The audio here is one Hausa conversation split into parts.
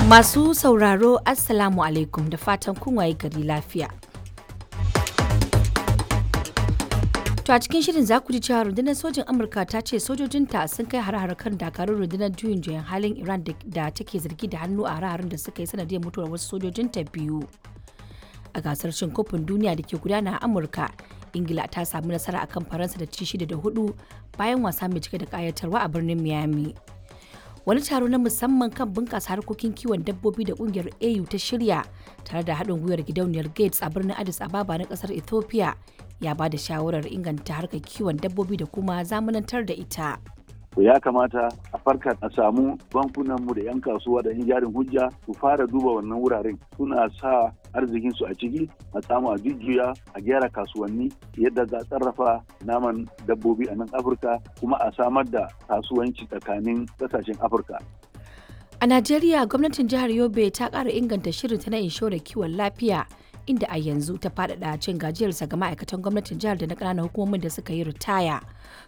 Masu sauraro, Assalamu alaikum, da fatan kun waye gari lafiya. To a cikin shirin za ku ji cewa rundunar sojin Amurka ta ce sojojinta sun kai har-har kan dakarun rundunar juyin juyan halin Iran da take zargi da hannu a har-harin da suka yi sanadiyar mutuwar wasu sojojinta biyu. A gasar cin kofin duniya da ke gudana a Amurka, Ingila ta samu nasara akan Faransa da ci 6-4 bayan wasa mai cike da kayatarwa a birnin Miami. Wani taro na musamman kan bunƙasa harkokin kiwon dabbobi da ƙungiyar AU ta shirya tare da haɗin gwiwar gidauniyar Gates a birnin Addis Ababa na ƙasar Ethiopia ya ba da shawarar inganta harkar kiwon dabbobi da kuma zamanantar da ita. To, ya kamata a farka, a samu bankunanmu da 'yan kasuwa da 'yan jarin hujja su fara duba wannan wuraren, suna sa arzikinsu a ciki, a samu a jujjuya, a gyara kasuwanni yadda za a sarrafa naman dabbobi a nan Afirka, kuma a samar da kasuwanci tsakanin kasashen Afirka. A Najeriya, gwamnatin jihar Yobe ta ƙara inganta shirinta na inshorar kiwon lafiya, inda a yanzu ta faɗaɗa cin gajiyarsa ga ma'aikatan gwamnatin jihar da na ƙananan hukumomin da suka yi ritaya.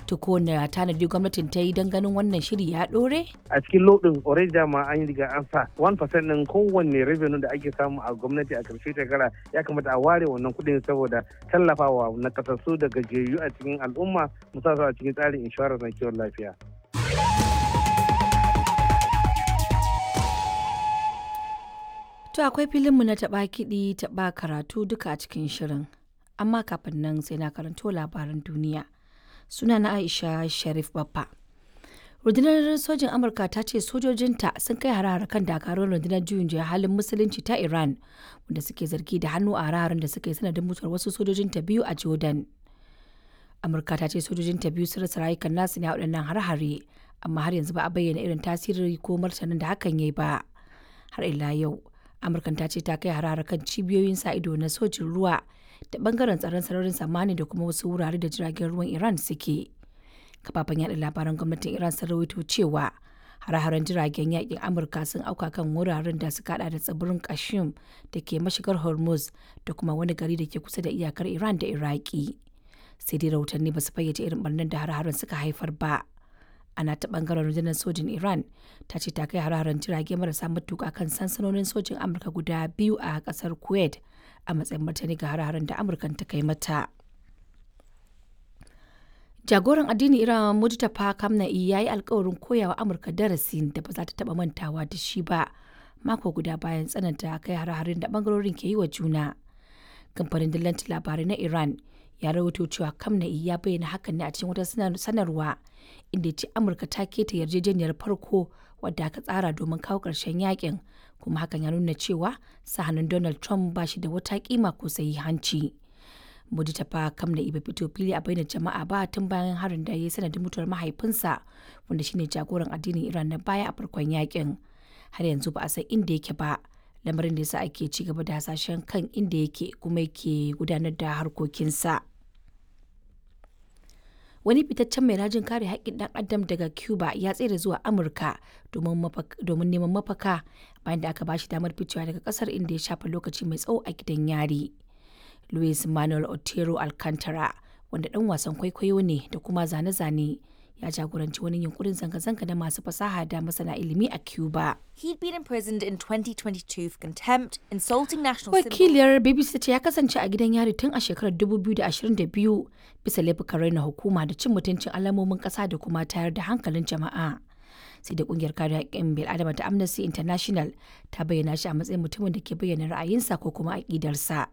To ko na tanadi gwamnatin ta yi don ganin wannan shiri ya ɗore? A cikin lodin already dama an riga an sa 1% din kowanne revenue da ake samu a gwamnati a karshe shekara. Ya kamata a ware wannan kuɗin saboda tallafawa na kasassu da gajiyayyu a cikin al'umma, musamman a cikin tsarin inshorar na kiwon lafiya. To akwai filinmu na taɓa kiɗi taɓa karatu duka a cikin shirin. Amma kafin nan sai na karanto labaran duniya. Suna na Aisha Sharif Baffa. Rundunar sojin Amurka ta ce sojojinta sun kai hare-hare kan dakarun rundunar juyin juya halin musulunci ta Iran, wanda suke zargi da hannu a hare-haren da suka yi sanadin mutuwar wasu sojojinta biyu a Jordan. Amurka ta ce sojojinta biyu sun rasa rayukan nasu ne a waɗannan hare-hare, amma har yanzu ba a bayyana irin tasiri ko martanin da hakan ya yi ba. Har ila yau, Amurkan ta ce ta kai harare kan cibiyoyin sa ido na sojin ruwa da bangaren tsaron sararin samani da kuma wasu wurare da jiragen ruwan Iran suke. Kafafen yada labaran gwamnatin Iran sun rawaito cewa hare-haren jiragen yakin Amurka sun auka kan wuraren da suka hada da tsibirin Kashim da ke mashigar Hormuz da kuma wani gari da ke kusa da iyakar Iran da Iraki. Sai dai rahotanni ba su fayyace irin barnar da hare-haren suka haifar ba. Ana ta bangaren rundunar sojin Iran ta ce ta kai hare-haren jirage marasa matuka kan sansanonin sojin Amurka guda biyu a kasar Kuwait a matsayin martani ga hare-haren da Amurkan ta kai mata. Jagoran addinin Iran Mujtaba Khamenei ya yi alkawarin koyawa Amurka darasi da ba za ta taba mantawa da shi ba, mako guda bayan tsananta kai hare-haren da bangarorin ke yi wa juna. Kamfanin dillancin labarai na Iran ya rawaito cewa Khamenei ya bayyana hakan ne a cikin wata sanarwa, inda ya ce Amurka ta keta yarjejeniyar farko wadda aka tsara domin kawo ƙarshen yakin, kuma hakan ya nuna cewa sa hannun Donald Trump ba shi da wata kima ko hanci. Mujtaba Khamenei bai fito fili a bainar jama'a ba tun bayan harin da ya yi sanadin mutuwar mahaifinsa, wanda shine jagoran addinin Iran na baya a farkon yakin. Har yanzu ba a san inda yake ba, lamarin da yasa ake ci gaba da hasashen kan inda yake kuma yake gudanar da harkokinsa. Wani fitaccen mai rajin kare haƙƙin ɗan adam daga Cuba ya tsere zuwa Amurka domin neman mafaka bayan da aka ba shi damar ficewa daga ƙasar, inda ya shafa lokaci mai tsawo a gidan yari. Luis Manuel Otero Alcantara, wanda ɗan wasan kwaikwayo ne da kuma zane-zane, ya jagoranci wani yunkurin zanga-zanga na masu fasaha da masana ilimi a Cuba. He'd been imprisoned in 2022 for contempt, insulting national symbols. Wakiliyar BBC ta ce ya kasance a gidan yari tun a shekarar 2022 bisa laifukan raina hukuma da cin mutuncin alamomin ƙasa da kuma tayar da hankalin jama'a. Sai da kungiyar kare haƙƙin bil'adama ta Amnesty International ta bayyana shi a matsayin mutumin da ke bayyana ra'ayinsa ko kuma aƙidarsa.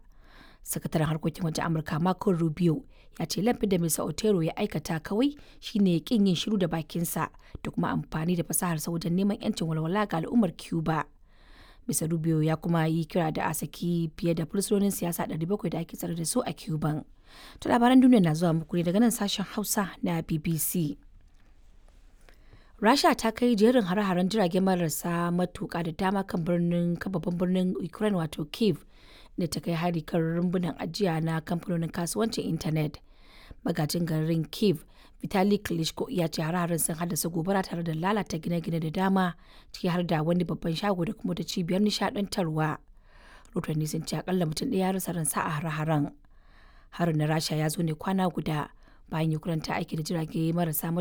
Sakataren harkokin wajen Amurka Marco Rubio ya ce laifin da Mr. Otero ya aikata kawai shine kin yin shiru da bakinsa da kuma amfani da fasaharsa wajen neman yancin walwala ga al'ummar Cuba. Mr. Rubio ya kuma yi kira da a saki fiye da fursunonin siyasa 700 da ake tsare da su a Cuban. To labaran duniya na zuwa muku ne daga nan sashen Hausa na BBC. Rasha ta kai jerin hare-haren jirage marasa matuka da dama kan birnin babban birnin Ukraine wato Kiev, da ta kai hari kan rumbunan ajiya na kamfanonin kasuwancin intanet. Magajin garin Kiev, Vitali Klitschko, ya ce hare-haren sun haddasa gobara tare da lalata gine-gine da dama, ciki har da wani babban shago da kuma wata cibiyar nishadantarwa. Rotanni sun ce akalla mutum ɗaya ya rasa ransa a hare-haren. Harin na Rasha ya zo ne kwana guda bayan Ukraine ta aiki da jirage marasa matuƙa